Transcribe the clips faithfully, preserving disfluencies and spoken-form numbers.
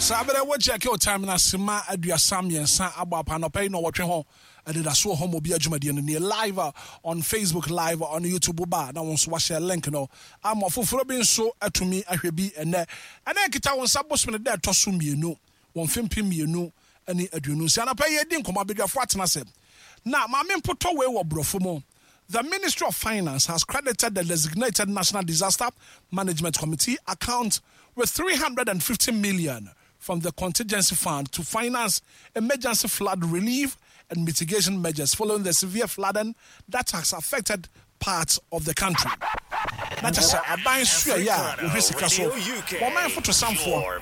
Saa berɛ wo check wo time na sima aduasa mmiɛnsa abɔ apa. Anɔpa yi na ɔwɔtwe ho ɛdeda so wɔ hɔ ma obi adwumadeɛ no nie, live on Facebook, live on YouTube. Ba na wo nso wahyɛ link no ama foforɔ bi nso atumi ahwɛ bi. Ɛnɛ ɛnɛ nkita wo nsa bosome no dɛ ɛtɔ so mmienu wɔn mfempem mmienu ne aduonu nsia. Anɔpa yi yɛdi nkɔmmɔ, abadwafoɔ atena sɛ na maame mpotɔ wei wɔ borɔfo mu. The Ministry of Finance has credited the designated National Disaster Management Committee account with three hundred fifty million from the contingency fund to finance emergency flood relief and mitigation measures following the severe flooding that has affected parts of the country. Na kyerɛ sɛ aban suayɛ a wɔhwɛ sika so, wɔman fotosanfoɔ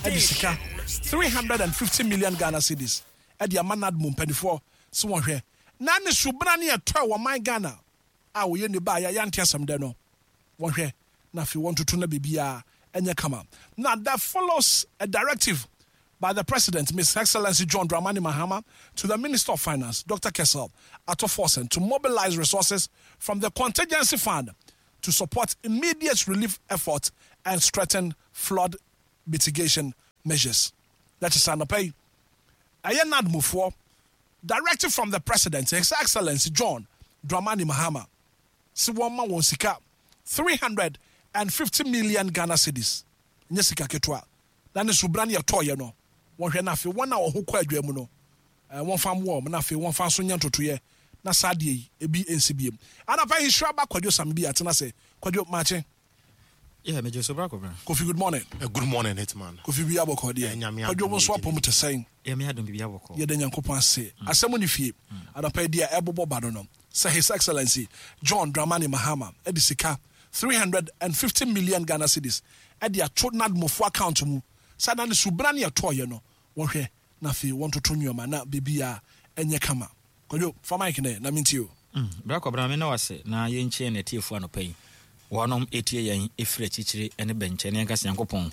ɛde sika three hundred fifty million Ghana cedis ɛde ama NADMO mpanimfoɔ sɛ wɔhwɛ na ne subena ne ɛtɔ a wɔman Ghana a wɔyɛ ne ba a yɛante asɛm dɛ no, wɔhwɛ na afei wɔntoto na biribiara ɛnyɛ kama. Na that follows a directive by the President, Miss Excellency John Dramani Mahama, to the Minister of Finance, Doctor Cassiel Ato Forson, to mobilize resources from the contingency fund to support immediate relief efforts and strengthen flood mitigation measures. That is anɔpa yi ɛyɛ NADMOfoɔ directive from the President, His Excellency John Dramani Mahama, sɛ wɔn ma wɔn sika three hundred fifty million Ghana cedis. Nyɛ sika ketewa na ne subra ne yɛtɔɔyɛ no, wɔhwɛ na afei wɔn a wɔn ho kɔ adwa mu no, ɛɛ wɔmfa mmoa wɔn na afei wɔmfa nso nyɛ ntotoyɛ na saa adeɛ yi ebi nsi biem. Anapa yi nhyira ba Kwadwo Sam bi atena sɛ Kwadwo maakye. Yeah, Major Sobra Kobra. Kofi, good morning. Uh, good morning, Hitman. Kofi bi abɔkɔ deɛ. Eh, Nyame Kwadwo adom mo nso yɛ apɔ mu te sɛn? Yeah, me adom bibi abɔkɔ. Yɛda Nyankopɔn ase. Asɛm ne fie anapa yi deɛ ɛbobɔ ba no no sɛ His Excellency John Dramani Mahama ɛde sika three hundred fifty million Ghana cedis ɛde ato NADMOfoɔ account mu sɛ na ne subra ne yɛtɔɔyɛ no, wɔhwɛ na afei wɔntoto nneɔma na biribiaa ɛnyɛ kama. Kwadwo, fa mic nɛ na mentie o. Mm. Bra Kobra, me na wase na yɛnkyie na atiefoɔ anɔpa yi. Wɔnom etie yɛn efiri akyirikyiri ne bɛnkyɛn ne yɛnka sɛ Nyankopɔn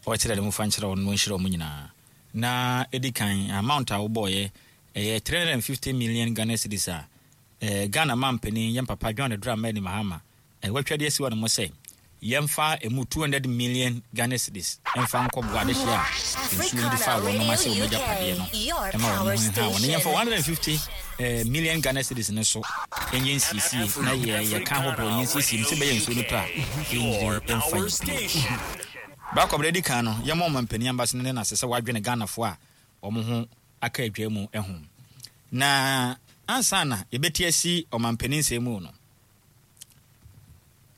ɔkyerɛ ne mu fa nkyerɛ wɔn na ɔnhyira wɔn nyinaa. Na edi kan, amount a wobɔɔyɛ ɛyɛ three hundred fifty million Ghana cedis a eh, Ghana mampanin, yɛn papa John Dramani Mahama, eh, watwa de asi hɔ nom sɛ yɛmfa emu two hundred million Ghana cedis ɛmfa nkɔboa adehyeɛ a nsuo de fa wɔn ase wɔn agyapadeɛ no ɛma wɔn ho ha wɔn. Yɛmfa one hundred fifty eh, million Ghana cedis no so ɛnyɛ nsiesie na yɛ yɛka ahodoɔ yɛ nsiesie mu sɛ bɛyɛ nsuo no tɔ a ɛnyiri ɛmfa yɛ bio. Baakɔ berɛ di kan no, yɛma ɔmampanin aba so no ne nase sɛ wadwene Ghanafoɔ a wɔn ho aka adwa mu ho. Na ansa na yɛbɛti asi ɔmampanin nsɛm mu no,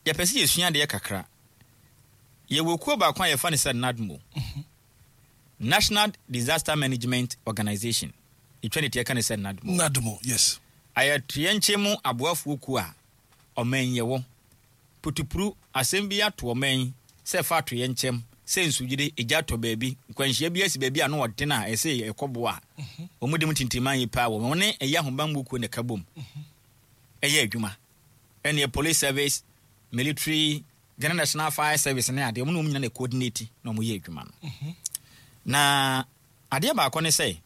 yɛpɛ sɛ yɛsua adeɛ kakra. Yɛwɔ kuo baako a yɛfa no sɛ NADMO, National Disaster Management Organization. Ɛtwa ne tiɛ ka ne sɛ NADMO. NADMO, yes. Ayɛtoyɛnkyɛn mu aboafoɔ kuo a ɔman yɛwɔ putupuru asɛm bi ato ɔman sɛ fa atoyɛnkyɛm sɛ nsuyire, egya atɔ baabi, nkwanhyia bi asi baabi a no ɔden a ɛsɛ ɛkɔboa a wɔn de mu tintiman yi paa wɔ wɔn ne ɛyɛ ahobanbɔ kuo na ɛka bom ɛyɛ adwuma. Ɛne police service, military, Ghana National Fire Service ne adeɛ, wɔn na wɔn nyinaa na coordinate na wɔn yɛ adwuma no. Na adeɛ baako ne sɛ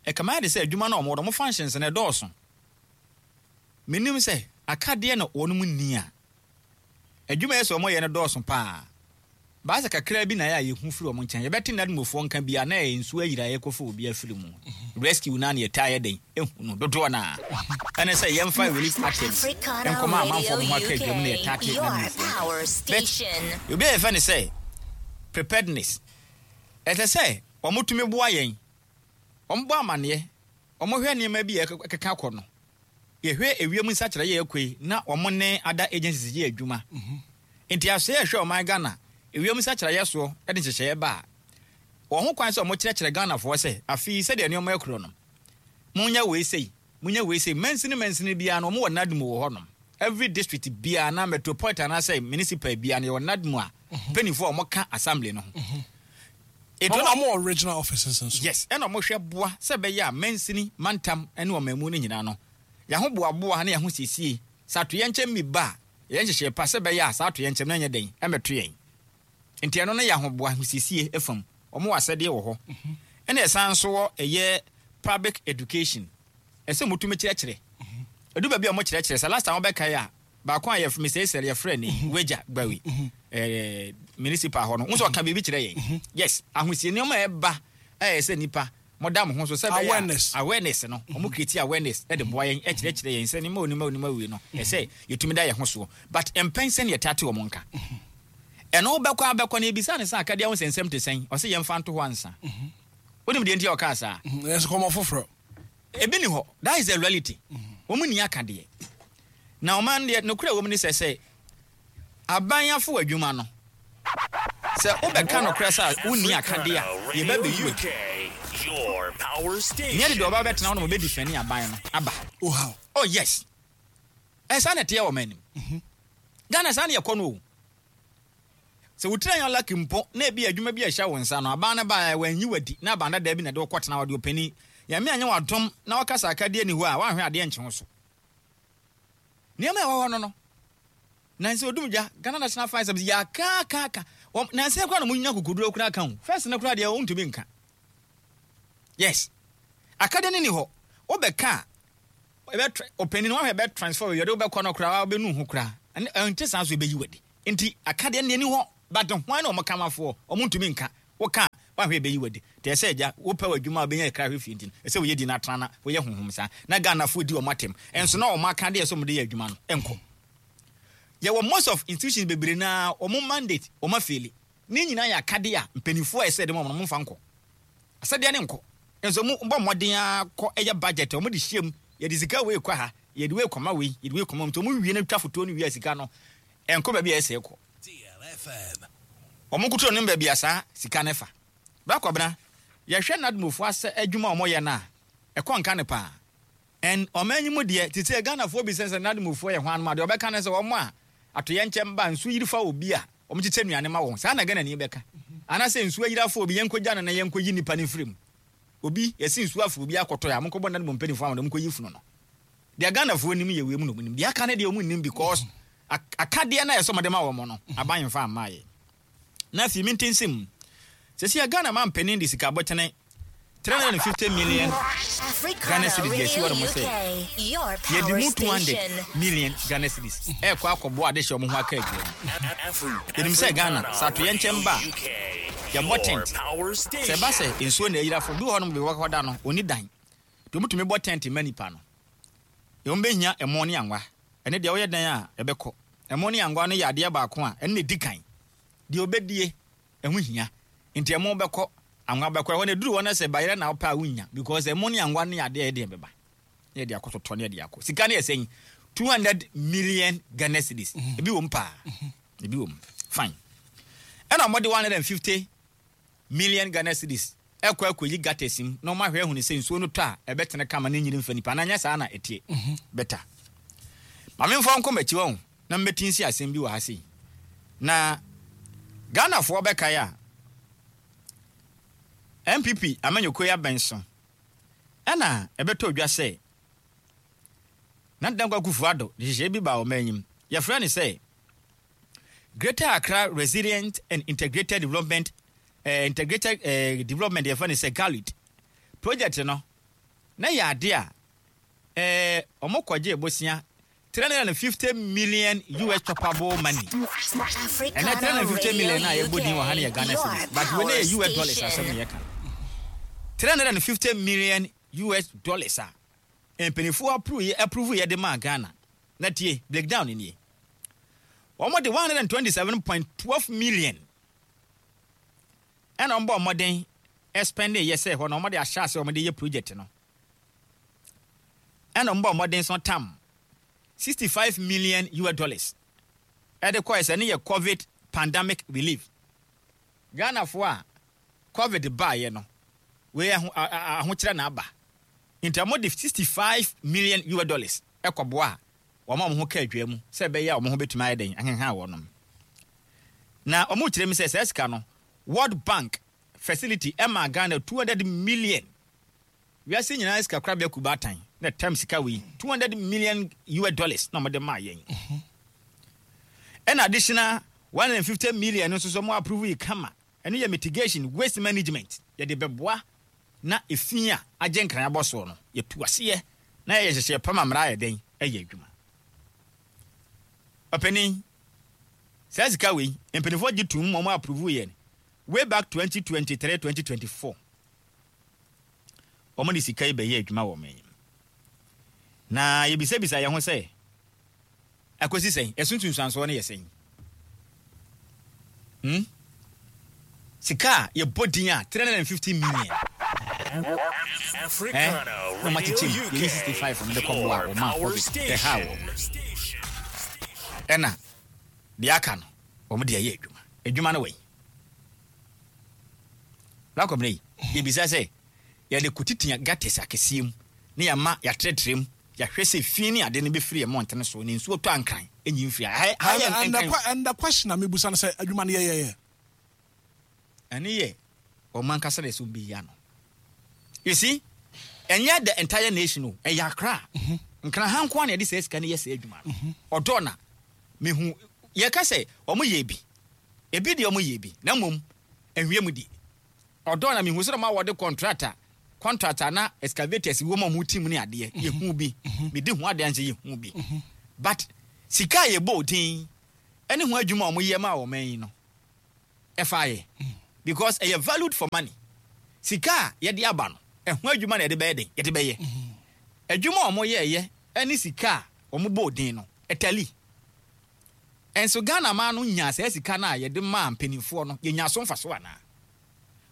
ɛkama yɛ de sɛ adwuma no a wɔn wɔ wɔn functions no ɛdɔɔso. Menim sɛ akadeɛ na wɔn mu ni a adwuma yɛ sɛ wɔn yɛ no dɔɔso paa. Baasa kakra bi na yɛ a yɛhu firi wɔn nkyɛn, yɛbɛte NADMOfoɔ nka bi a na ɛyɛ nsuo ayira a yɛkɔfa obi afiri mu, rescue na ne yɛtaa yɛ den ehu no dodoɔ na ɛne sɛ yɛmfa relief items nkɔma amanfoɔ mo ho aka adwam na yɛtaa te NADMOfoɔ nka. But obi a yɛfɛ ne sɛ preparedness, ɛsɛ sɛ wɔn tumi boa yɛn, wɔn bɔ amaneɛ, wɔn hwɛ nneɛma bi a ɛkeka kɔ no, yɛhwɛ ewiem nsakyerɛ yɛ ɛkɔ yi na wɔn ne other agencies yɛ adwuma. Nti asɛ yɛhwɛ ɔman Ghana ewiem nsakyerɛeɛ soɔ de nhyehyɛeɛ ba a, wɔn ho kwan sɛ wɔn kyerɛkyerɛ Ghanafoɔ sɛ afei sɛdeɛ nneɛma ɛkorɔ no, monyɛ wei sei, monyɛ wei sei. Mansini mansini biara no, wɔn wɔ NADMO wɔ hɔnom. Every district biara na metropolitan anaasɛ municipal biara no, yɛwɔ NADMO a mpanimfoɔ a wɔka assembly no ho. Etu na ɔmo wɔ regional offices nso. Yes, ɛna ɔmo hwɛ boa sɛ ɛbɛyɛ a mansini, mantam ne ɔmanmu no nyinaa no, yɛho boaboa ne yɛho siesie sɛ atoyɛnkyɛm mi ba a, yɛn nhyehyɛ pa sɛ ɛbɛyɛ a saa atoyɛnkyɛm no nyɛ den ɛmɛto yɛn. Nti ɛno no yɛ ahoboa ahosiesie fam, ɔmo wɔ asɛdeɛ wɔ hɔ. Ɛna ɛsan nso wɔ ɛyɛ public education, ɛsɛ mo tumi kyerɛkyerɛ ɛdu baabi a ɔmo kyerɛkyerɛ sɛ last time wɔbɛkae a baako a yɛfrɛ Mister Esel, yɛfrɛ ne Wagya Gbawi, ɛɛ Municipal hɔ no, wo nso ɔka biribi kyerɛ yɛn. Yes, ahosie nneɛma a ɛba ɛyɛ sɛ nipa mɔda mo ho so sɛ bɛyɛ a- Awareness. Awareness no, ɔmo create awareness ɛde boa yɛn, ɛkyerɛkyerɛ yɛn sɛ nneɛma onima onima wei no ɛsɛ yɛtumi da yɛn ho soɔ, but mpɛn sɛ ne yɛtate wɔn nka ɛno wobɛkɔ abɛkɔ no, ebisa ne sɛ akadeɛ ho nsɛnsɛm te sɛn, ɔsɛ yɛmfa nto hɔ ansa. Wonim deɛ nti a ɔkaa saa? Ɛsɛ kɔmɔ foforɔ. Ebi ni hɔ. That is the reality. Wɔn ni aka deɛ na ɔman deɛ nokura wɔm ni sɛ sɛ aban afo adwuma no sɛ wobɛka nokora sɛ wonni akadeɛ a, yɛbɛ bɛyi w'akyi. Your power station. Nyɛ de deɛ ɔba bɛtena hɔ na ɔbɛdi fɛni aban no aba. Oh, how? Oh yes, ɛsa na ɛteɛ wɔ man nim Ghana saa ne yɛkɔ no o. Sɛ wotiri anya lucky mpo na ebi adwuma bi a ɛhyɛ wo nsa no, aban no ba wanyi wadi na aban dada bi na de wokɔtena hɔ de ɔpanin Nyame anyɛ wadom na wakasa akadeɛ ni hɔ a, woanhwɛ adeɛ nkye wo so. Nneɛma a ɛwɔ hɔ no no nansi odum dwa Ghana National Fire Service yɛ akaakaaka nansi koraa na mo nya kokoduro koraa ka ho. First no koraa deɛ wontumi nka. Yes, akadeɛ no ni hɔ. Wobɛka a ɛbɛ ɔpanin wahwɛ bɛ transfer yɛde wobɛkɔ no koraa, wobɛnu ho koraa ɛne ɛnte saa so ɛbɛyi wadi. Nti akadeɛ no ni hɔ, but hwan na ɔmo kamafoɔ ɔmo ntumi nka. Woka wahwɛ ɛbɛyi wadi te ɛsɛ agya wopɛ wɔ adwuma a wobɛnya ɛkra hwɛ fie. Nti no ɛsɛ woyɛ di no atena na woyɛ honhom saa na Ghanafoɔ di ɔmo atɛm ɛnso na ɔmo akadeɛ sɛ ɔmo de yɛ adwuma no ɛnkɔ. Yɛwɔ most of institutions bebree naa ɔmo mandate ɔmo afail ne nyinaa yɛ akadeɛ a mpanimfoɔ a ɛsɛ de ma ɔmo no, ɔmo mfa nkɔ asɛdeɛ ne nkɔ nso mo bɔ mmɔden akɔ ɛyɛ budget a ɔmo de hyɛ mu. Yɛde sika wei kɔ ha, yɛde wei kɔma wei, yɛde wei kɔma mu, nti ɔmo wie no twa fotoɔ no wie a, sika no ɛnkɔ baabi a ɛsɛ kɔ. D L F M. Ɔmo nkoto no baabi a saa sika no fa bɛkɔbena. Yɛhwɛ NADMOfoɔ asɛ adwuma a ɔmo yɛ no a ɛkɔ nka ne paa. Ɛn ɔman yi mu deɛ te sɛ Ghanafoɔ bi sɛ sɛ NADMOfoɔ yɛ hwan nom a, deɛ ɔbɛka ne sɛ wɔn a atoyɛ nkyɛn ba nsu yiri fa obi a wɔn kyekyɛ nnuane ma wɔn saa na Ghana ni bɛka, anaasɛ nsuo ayiri afa obi, yɛnkɔgya no na yɛnkɔyi nipa no firi mu. Obi yɛsi nsuo afa obi akɔtɔ yɛ a, monkɔbɔ NADMO mpanimfoɔ ama na monkɔyi funu no. Deɛ Ghanafoɔ nim yɛ wei mu na ɔmo nim deɛ aka no deɛ ɔmo nim, because ak- akadeɛ no a yɛsɛ ɔmɔde ma wɔn no, aban mfa amma yɛ. Na afei mente nsɛm sɛsi a Ghana ma mpanin de sika abɔtene three hundred and fifty million Africana Ghana cedis deɛ ɛsi hɔ nom sɛ Radio U K, your yɛde power mu two hundred station. Million Ghana cedis ɛkɔ akɔboa ade hyɛ ɔmo ho aka adwuma mu. Yɛnim sɛ Ghana sɛ atoyɛ nkyɛn ba a, yɛbɔ tent. Sɛ ɛba sɛ nsuo na ayira fo bi wɔ hɔ nom bi wɔkɔda no ɔni dan nti ɔmutumi bɔ tent ma nipa no. Ɛwɔm bɛhia ɛmo ne anwa. Ɛne deɛ woyɛ dan a ɛbɛkɔ ɛmo ne anwa no yɛ adeɛ baako a ɛno na ɛdi kan deɛ ɔbɛdie ɛho hia. Nti ɛmo bɛkɔ, anwa bɛkɔ. Ɛhɔ no ɛduru hɔ no sɛ bayerɛ na wopɛ a wonya, because ɛmo ne anwa no yɛ adeɛ a ɛdeɛ bɛba ne yɛde akɔtotɔ ne yɛde akɔ. Sika no yɛ sɛn? two hundred million Ghana cedis. Ebi wɔ mu paa, ebi wɔ mu fine. Ɛna ɔmɔde one hundred and fifty million Ghana cedis ɛkɔ akɔyi gutters mu na ɔmo ahwɛ ahunu sɛ nsuo no tɔ a ɛbɛtene kama ne nyiri mfa nipa na nyɛ saa na ɛteɛ better. Maame mfa nkɔ m'akyi wɔn na mbɛti nsi asɛm bi wɔ ha sei na Ghanafoɔ bɛkae a N P P amanyɔkuo yi abɛn so ɛna ɛbɛtɔ dwa sɛ na Dankwa Akufo-Addo de hyehyɛ bi ba ɔman anim, yɛfrɛ no sɛ Greater Accra Resilient and Integrated Development eh, Integrated eh, Development, yɛfrɛ no sɛ GARID project no. Na yɛ ade a eh, ɔmo kɔgye bosia three hundred and fifty million U S choppable money. Ɛnɛ three hundred and fifty million a yɛbɔ din wɔ ha no yɛ Ghana cedis, but wei ne yɛ U S dollars asɛm ne yɛka. three hundred and fifty million U S dollars a mpanimfoɔ approve yɛ approve yɛ de maa Ghana. Na tie breakdown nie: wɔn de one hundred and twenty-seven point one two million ɛna wɔn bɔ mmɔden spend yɛ sɛ hɔ na wɔn de ahyɛ ase wɔn de yɛ project no. Ɛna wɔn bɔ mmɔden so tam sixty-five million U S dollars ɛde kɔɛ sɛ ne yɛ COVID pandemic relief. Ghanafoɔ a COVID baayɛ no, wei aho ahokyerɛ na aba nti wɔn de sixty-five million U S dollars ɛkɔboa a wɔn a wɔn ho ka adwa mu sɛ ɛbɛyɛ a wɔn ho bɛtumi ayɛ den ahenha wɔn. Na wɔn kyerɛ mi sɛ saa sika no, World Bank facility ɛma Ghana two hundred million. Wiase nyinaa sika korabea kubaatan na tam sika wei two hundred million U S dollars na wɔde maa yɛn. Ɛna additional one hundred and fifty million nso so wɔn approve yi kama. Ɛno yɛ mitigation waste management, yɛde bɛboa na efi a agye nkran abɔ soɔ no yɛtu aseɛ na yɛyɛ hyehyɛ pam amara ayɛ den ɛyɛ adwuma. Ɔpanin, Saa sika wei, mpanimfoɔ gye tom ma ɔmo approve yɛn way back twenty twenty-three, twenty twenty-four. Ɔmo de sika yi bɛyɛ adwuma wɔ ɔman yi mu na yɛbisabisa yɛn ho sɛ akɔsi sɛn, ɛso nsunsuansoɔ no yɛ sɛn? hmm? Sika a yɛbɔ din a three hundred and fifty million eh? Africana Na ɔmo akyekyɛ mu Radio yɛyi U K. sixty-five no de kɔboa Your ɔma power COVID ɛha wɔ station. ɛna deɛ aka no wɔn de ayɛ adwuma. Adwuma no wɔ yi lakɔmina yi, yɛbisa sɛ yɛde kotitia gutters akɛseɛ mu ne yɛama yɛatrɛtrɛ mu, yɛahwɛ sɛ fi ne ade no bɛfiri yɛ mmɔntene so ne nsuo tɔ ankran ɛnyi mfiri ha ha yɛ And, and, the, nkran. que- and the question a mebusa no sɛ adwuma no yɛyɛyɛ Ɛne yɛ ɔmo ankasa de sɛ ɔmbɛyi ano. You see, ɛnyɛ the entire nation o, ɛyɛ Akra, Nkran ha nko a na yɛde saa sika no yɛ saa adwuma no. Ɔdɔ na mehu yɛka sɛ ɔmo yɛ bi, ebi deɛ ɔmo yɛ bi na mmom ahwie mu di ɔdɔ na mehu sɛ ɔmo a wɔde contractor contractor na excavators wɔ mu a ɔmo team ne adeɛ, yɛhu bi, medi ho adeɛ nkyɛ yɛhu bi, but sika a yɛbɔ odin ɛne ho adwuma a ɔmo yɛ ma ɔman yi no ɛfa yɛ because ɛyɛ valued for money. Sika a yɛde aba no, ɛho adwuma na yɛde bɛyɛ den, yɛde bɛyɛ adwuma a ɔmo yɛɛyɛ ɛne sika a ɔmo bɔ odin no ɛtali. Ɛnso Ghana maa no nya saa sika no a yɛde maa mpanimfoɔ no, yɛnya so mfa so anaa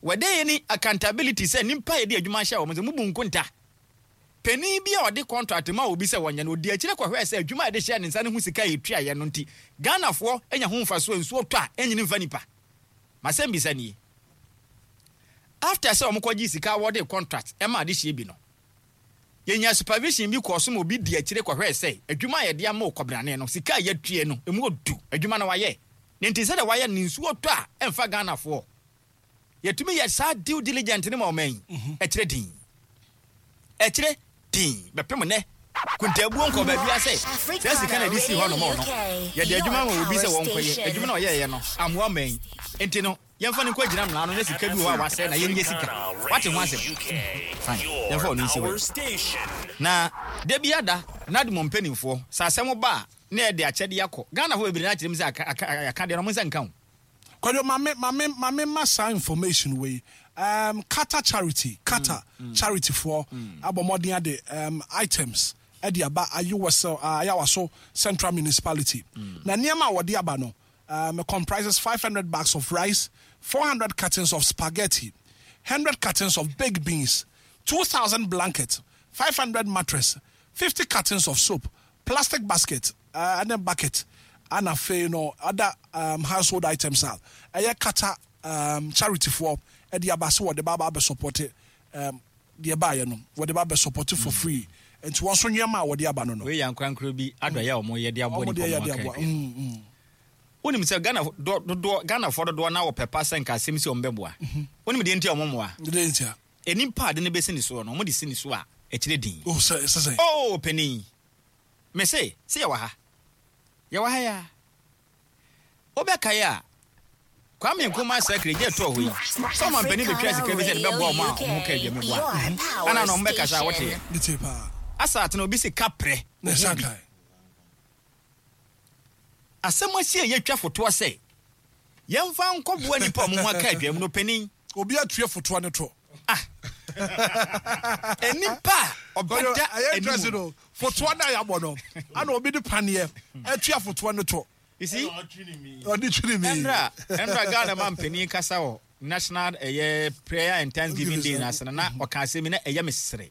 wɔde yɛ ni accountability sɛ nipa yɛde adwuma hyɛ wɔn sɛ mubu nkonta. Panin bi a ɔde contract ma obi sɛ wɔnyɛ no, ɔdi akyire kɔhwɛ sɛ adwuma a yɛde hyɛ ne nsa no ho sika a yɛtua yɛ no nti Ghanafoɔ anya ho mfa so. Nsuo tɔ a ɛnyini mfa nipa. Masɛm bisa nie: after sɛ wɔn kɔgye sika a wɔde contract ɛma ade hyɛ bi no, yɛnya supervision bi kɔɔ so ma obi di akyire kɔhwɛ sɛ adwuma a yɛde ama okɔbrane no, sika a yɛatue no emu odu, adwuma no wayɛ ne nti sɛdeɛ wayɛ ne nsuo tɔ a ɛmfa Ghanafoɔ, yɛtumi yɛ saa due diligent ne ma ɔman yi ɛkyerɛ din, ɛkyerɛ din bɛpem nnɛ kuntaabuo nkɔ baabi asɛ saa sika na ɛde sii hɔ nom no, yɛde adwuma ma obi sɛ wɔnkɔyɛ adwuma na ɔyɛɛyɛ no amoa man yi nti no, yɛmfa no nkɔ gyina mmara no na sika bi wɔ hɔ a wasɛe na yɛnyɛ sika. Wate ho asɛm? Fine, yɛmfa ɔno nsi hɔ na da bi ada na de mo mpanimfoɔ sɛ asɛm ba a na yɛde akyɛdeɛ akɔ Ghanafoɔ bebree no akyerɛ mu sɛ aka- aka aka deɛ no ɔmo nsa nka ho. Kwadwo, mame mame mame ma saa information wei, um, Qatar Charity, Qatar Charity foɔ abɔ mmɔden ade um, items ɛde aba Ayewɔsɛ uh, Ayawaso Central Municipality na nneɛma a wɔde aba no um, comprises five hundred bags of rice, four hundred cartons of spaghetti, one hundred cartons of baked beans, two thousand blankets, five hundred mattress, fifty cartons of soap, plastic basket uh, and then bucket, and afei no other um, household items a ɛyɛ Qatar um, Charity foɔ ɛde aba sɛ wɔde ba aba abɛ support um, deɛ baayɛ no, wɔde ba abɛ support for free. Nti wɔn nso nneɛma a wɔde aba no no Wei yɛ ankorankoro bi adɔeɛ a ɔmo yɛ de aboa wɔn nipa de yɛ ɔmo de aka aboa adua. Mm, mm. Wonim sɛ Ghana dɔ- dodoɔ, Ghanafoɔ dodoɔ na wɔpɛ pa sɛ nka asɛm si ɔmo bɛboa. Wonim deɛ nti a ɔmo mmoa? De ntia? Enipa ade no bɛsi ne soɔ no, ɔmo de si ne so a ɛkyerɛ din. Oh, sɛ sɛ sɛ Oh, panin, me se sɛ yɛwɔ ha, yɛwɔ ha ya wobɛkae a Kwame Nkrumah sɛ gye tɔɔ hɔ yi sɛ ɔma mpanin bɛtwa sika bi sɛ de bɛboa ɔmo a ɔmo ka adwa meboa ana na ɔmo bɛkasa a wɔteɛ Ne tie paa. Asa atena obi si kaprɛ. Na ɛsan kae. Asɛm asi a yɛtwa fotoɔ sɛ yɛmfa nkɔboa nipa a ɔmo ho aka adwa mu no, panin. Obi atue fotoɔ ne to. Ah, nipa a ɔbɛda ɛyɛ interest anim. No fotoɔ no a yɛabɔ no ana obi de paneɛ atua fotoɔ ne to. You see, Ɔde twiri mi. ɛnra ɛnra Ghana ma mpanin kasa wɔ National ɛyɛ Prayer and Thanksgiving Day n'ase no na ɔka asɛm yi na ɛyɛ me sere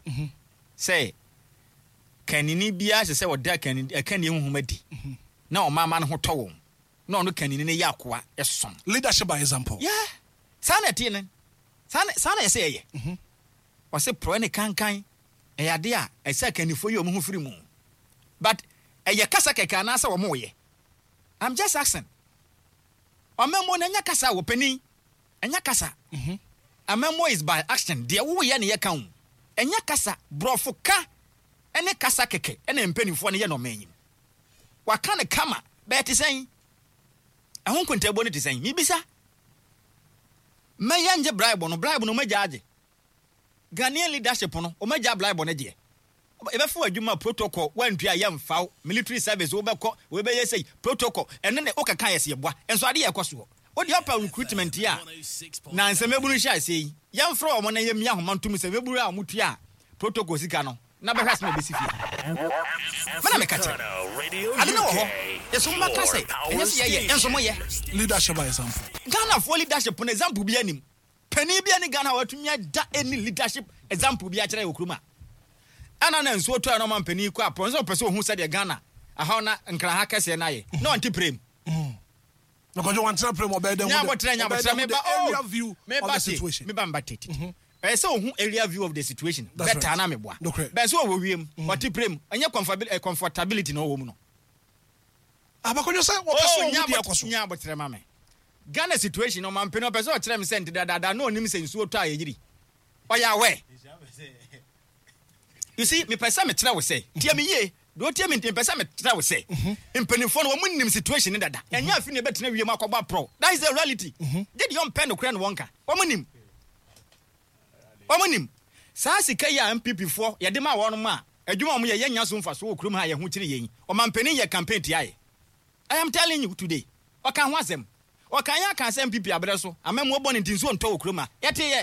sɛ kanini biara hyɛ sɛ ɔda kanini ɛkanni huhum adi na ɔmaama no ho tɔ wɔn na ɔno kanini no yɛ akoa ɛsom. Leadership by example. Yeah, saa na ɛteɛ no, saa na saa na ɛsɛ yɛyɛ. Ɔsɛ porɔ ne kankan ɛyɛ ade a ɛsɛ akannifoɔ yi ɔmo ho firi mu, but ɛyɛ kasa kɛkɛ anaasɛ wɔn yɛ? I'm just asking. Ɔmɛmo no ɛnyɛ kasa wɔ panin, ɛnyɛ kasa. Amɛmo is by action. Deɛ woyɛ ne yɛ ka ho, ɛnyɛ kasa. Borɔfo ka ɛne kasa kɛkɛ ɛna mpanimfoɔ no yɛ na ɔman yi mu waka ne kama bɛyɛ te sɛn, ɛho nkontabuo no te sɛn? Mibisa mɛyɛ ngye bribe no, bribe no ɔmagya agye. Ghanaian leadership no, ɔmagya bribe no deɛ. Yɛbɛfo adwuma, protocol, wantua yɛmfa wo. Military service wobɛkɔ, wobɛyɛ sɛ protocol. Ɛno ne wokeka yɛ sɛ yɛboa nso ade yɛ ɛkɔ soɔ. Wode ɔpa recruitment yi a na nsɛm ebunu hyɛ ase yi, yɛmfrɛ wɔn na yɛmmia ahoma ntom sɛ ebunu a wɔtua a protocol sika no na bɛhwɛ asɛm a ɛbɛsi fie. Mena meka kyerɛ ade ne wɔ hɔ, yɛsɛ mobɛka sɛ ɛnyɛ sɛ yɛyɛ ɛnso moyɛ. Leadership by example. Ghanafoɔ leadership no, example bi anim panin bi ani Ghana a watumi ada any leadership example bi akyerɛ wɔ kurom a ɛna na nsuo tɔ a na ɔma mpanin kɔ apɔ nso ɔpɛ sɛ ohun sɛdeɛ Ghana ahaw na Nkraha kɛseɛ no ayɛ na ɔnte prem. Na Kwadwo wantena prem, ɔbɛyɛ dɛ nya abɔtrɛ, nya abɔtrɛ, meba. Area view of the situation. Meba mba tete, ɛyɛ sɛ ohun area view of the situation. That's better right. Na meboa. Nokorɛ. Bɛn sɛ ɔwɔ wiem, ɔte prem, ɛnyɛ comfortability, comfortability na ɔwɔ mu no. Abakɔdwo sɛ wɔpɛ sɛ Oh, ɔhu deɛ ɛkɔ so. Nya abɔtrɛ ma me. Ghana situation, ɔmampɛ ɔpɛ sɛ ɔkyerɛ me sɛ nte dadaada na ɔnim sɛ nsuo tɔ a yɛyiri, ɔyɛ aware. You see, mepɛ sɛ mekyerɛ wo sɛ, tie me yie deɛ, ɔtie me nti, mepɛ sɛ mekyerɛ wo sɛ mpanimfoɔ no, wɔn nim situation ne dada. Ɛnyɛ afi ne ɛbɛtena wiem akɔbɔ aporɔ. That is the reality. Gye deɛ ɔmpɛ nokorɛ no wɔnka. Wɔn nim, wɔn nim saa sika yi a N P P foɔ yɛde ma wɔn a adwuma a wɔn yɛ, yɛnya so mfa so wɔ kurom ha. Yɛn ho kyerɛ yɛn, ɔmampanin yɛ campaign tia yɛ. I am telling you today, ɔka ho asɛm, ɔka yɛn aka sɛ N P P abrɛ so amamuo bɔ ne nti nsuo ntɔ wɔ kurom a yɛte yɛ.